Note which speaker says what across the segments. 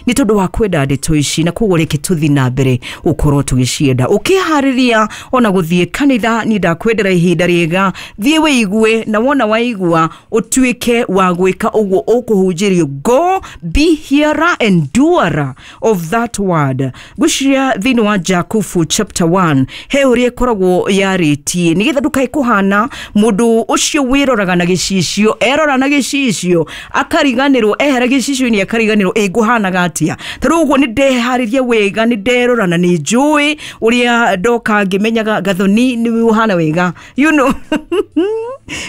Speaker 1: Nĩ tondũ wa kwenda ndeto ici, na koguo reke tũthiĩ na mbere gũkorwo tũgĩcienda. Ũkĩharĩria ona gũthiĩ kanitha, niĩ ndakwendera ihinda rĩega, thiĩ wĩigue, na wona waigua ũtuĩke wa gwĩka ũguo ũkũhunjĩrio. Go be hearer and doer of that word. Ngwĩciria thĩinĩ wa Jakubu chapter 1 he ũrĩa ĩkoragwo yarĩtie, nĩgetha ndũkae kũhana mũndũ ũcio wĩroraga na gĩcicio, erora na gĩcicio akariganĩrwo, ehera gĩcicio-inĩ akariganĩrwo ĩ ngũhanaga atĩa. Ta rĩu ũguo nĩ ndeharĩria wega, nĩ nderora na nĩ njũĩ ũrĩa ndoka ngĩmenyaga Gathoni nĩ ũhana wega.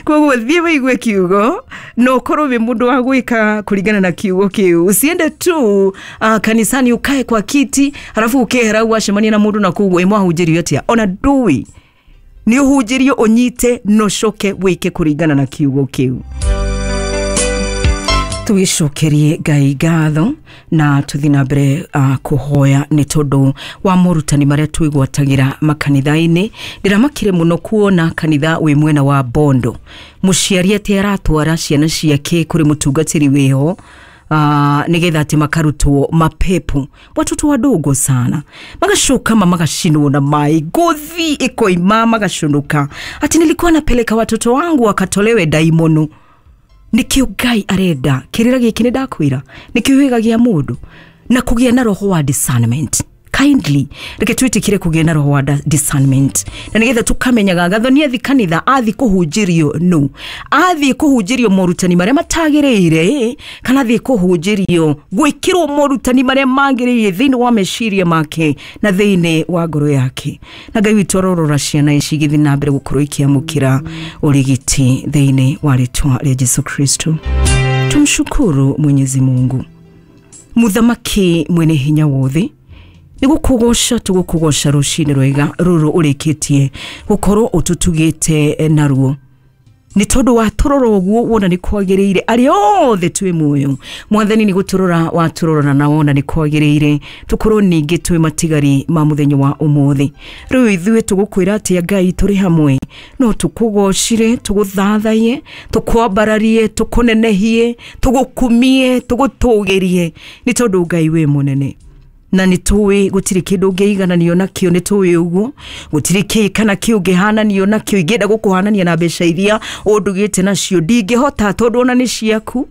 Speaker 1: Koguo thiĩ wĩigue kiugo na ũkorwo wĩ mũndũ wa gwĩka kũringana na kiugo kĩu. Usiende tu kanisani ukae kwa kiti, halafu ukehera wacemania na mũndũ na koguo ĩmwahunjĩrio atĩa, ona ndũĩ nĩ ũhunjĩrio, ũnyite na ũcoke wĩke kũringana na kiugo kĩu. Tũgĩcokerie Ngai ngatho na tũthiĩ na mbere kũhoya nĩ tondũ wa morutani marĩa twĩgwatagĩra makanitha-inĩ. Ndĩramakire mũno kuona kanitha wĩ mwena wa Bondo, mũciari atĩ aratwara ciana ciake kũrĩ mũtungatĩri wĩho nigetha atĩ makarutwo mapepo, watoto wadogo sana, magacoka ma magacinwo na mai, ngothi ikoima, magacunuka, ati nilikuwa napeleka watoto wangu wakatolewe daimono. Nikio Ngai arenda kirira giki ni ndakwira nikio gĩa mũndũ na kũgĩa na roho wa discernment. Kindly reke twĩtĩkĩre kũgĩa na roho wa discernment, na nĩgetha tũkamenyaga Gathoni athi kanitha athi kũhunjĩrio, no athiĩ kũhunjĩrio morutani marĩa matagĩrĩire, kana athiĩ kũhunjĩrio gwĩkĩrwo morutani marĩa magĩrĩire thĩinĩ wa meciria make na thĩinĩ wa ngoro yake. Na Ngai witũ arorora ciana ici igĩthiĩ na mbere gũkorwo ikĩamũkĩra ũrigiti thĩinĩ wa rĩtwa rĩa Jesu Kristo. Tumshukuru Mwenyezi Mungu, Muthamaki mwene hinya wothe. Nĩ gũkũgoca tũgũkũgoca rũcinĩ rwega rũrũ ũrĩkĩtie gũkorwo ũtũtugĩte naruo, nĩ tondũ watũrora ũguo wona nĩ kwagĩrĩire. Arĩa othe twĩ muoyo, Mwathani, nĩ gũtũrora watũrora na wona nĩ kwagĩrĩire tũkorwo ningĩ twĩ matigari ma mũthenya wa ũmũthĩ. Rĩu ithuĩ tũgũkwĩra atĩa, Ngai? Tũrĩ hamwe no tũkũgocire, tũgũthathaiye, tũkwambararie, tũkũnenehie, tũgũkumie, tũgũtũgĩrie, nĩ tondũ Ngai wĩ mũnene, na nĩ tũĩ gũtirĩ kĩndũ ũngĩigananio nakĩo. Nĩ tũĩ ũguo gũtirĩ kĩ kana kĩ ũngĩhananio nakĩo. Ingĩenda gũkũhanania na mbeca iria ũndugĩte nacio, ndingĩhota, tondũ ona nĩ ciaku.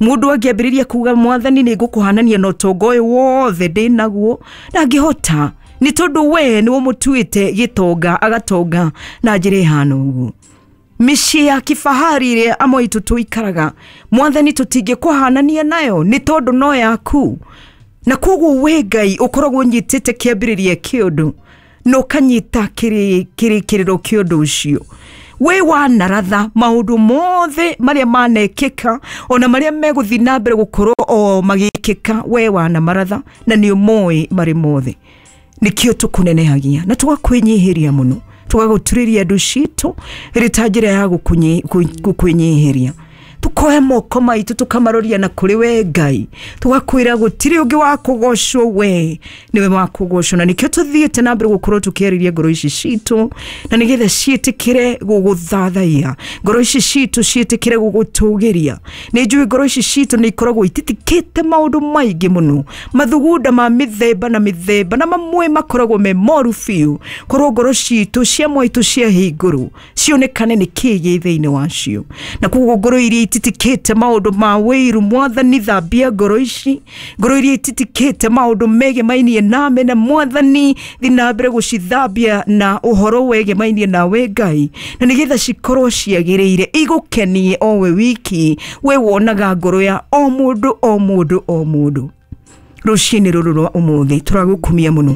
Speaker 1: Mũndũ angĩambĩrĩria kuga, "Mwathani, nĩ ngũkũhanania na ũtonga ũyũ wothe ndĩ naguo," ndangĩhota, nĩ tondũ we nĩ ũmũtuĩte gĩtonga, agatonga na njĩra ĩhana ũguo. Mĩciĩ ya kifahari ĩrĩa amwe aitũ tũikaraga, Mwathani, tũtingĩkũhanania nayo, nĩ tondũ no yaku. Na koguo we Ngai ũkoragwo ũnyitĩte kĩambĩrĩria kĩa ũndũ na ũkanyita kĩrĩkĩrĩro kĩa ũndũ ũcio. We wanaratha maũndũ mothe marĩa manekĩka, ona marĩa megũthiĩ na mbere gũkorwo o magĩkĩka. We wanamaratha na nĩ ũmoĩ marĩ mothe. Nĩkĩo tũkũnenehagia na tũgakwĩnyihĩria mũno, tũgagũturĩria andũ citũ ĩrĩ ta njĩra ya gũkwĩnyihĩria. Tukoya moko maitũ tũkamaroria na kũrĩ we Ngai, tũgakwĩra gũtirĩ ũngĩ wa kũgocwo, we nĩwe wa kũgocwo. Na nĩkĩo tũthiĩte na mbere gũkorwo tũkĩarĩria ngoro ici citũ, na nĩgetha ciĩtĩkĩre gũgũthathaiya, ngoro ici citũ ciĩtĩkĩre gũgũtũgĩria. Nĩ njũĩ ngoro ici citũ nĩ ikoragwo ititikĩte maũndũ maingĩ mũno, mathugunda ma mĩthemba na mĩthemba, na mamwe makoragwo me moru biũ. Korwo ngoro citũ cia mwaitũ ciahingũrwo, cionekane nĩ kĩĩ gĩ thĩinĩ wacio. Na koguo ngoro iria ititikĩte maũndũ ma wĩiru, Mwathani, thambia ngoro ici. Ngoro iria ititikĩte maũndũ megemainie name na Mwathani, thi na mbere gũcithambia na ũhoro wegemainie nawe, Ngai, na nĩgetha cikorwo ciagĩrĩire igũkenie o we wiki. We wonaga ngoro ya o mũndũ, o mũndũ, o mũndũ. Rũcinĩ rũrũ rwa ũmũthĩ tũragũkumia mũno,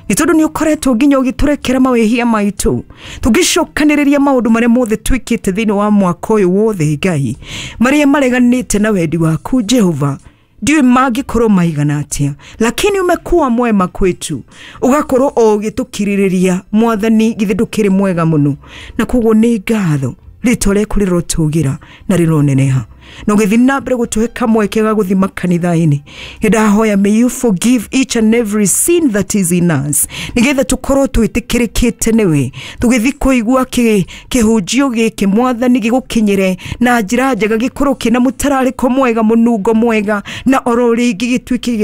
Speaker 1: nĩ tondũ nĩ ũkoretwo nginya ũgĩtũrekera mawĩhia maitũ. Tũngĩcokanĩrĩria maũndũ marĩa mothe twĩkĩte thĩinĩ wa mwaka ũyũ wothe, Ngai, marĩa mareganĩte na wendi waku, Jehova, ndiũĩ mangĩkorwo maigana atĩa, lakini umekuwa mwema kwetu, ũgakorwo o ũgĩtũkirĩrĩria. Mwathani, githĩ ndũkĩrĩ mwega mũno? Na koguo nĩ ngatho, rĩtwa rĩaku rĩrotũgĩra na rĩroneneha, na ũgĩthiĩ na mbere gũtũhe kamweke ga gũthiĩ makanitha-inĩ. Nĩndahoya, may you forgive each and every sin that is in us, nĩgetha tũkorwo twĩtĩkĩrĩkĩte nĩwe tũgĩthiĩ kũigua kĩhunjio gĩkĩ. Mwathani, gĩgũkinyĩre na njĩra njega, gĩkorwo kĩna mũtararĩko mwega, mũnungo mwega, na oro rĩngĩ gĩtuĩke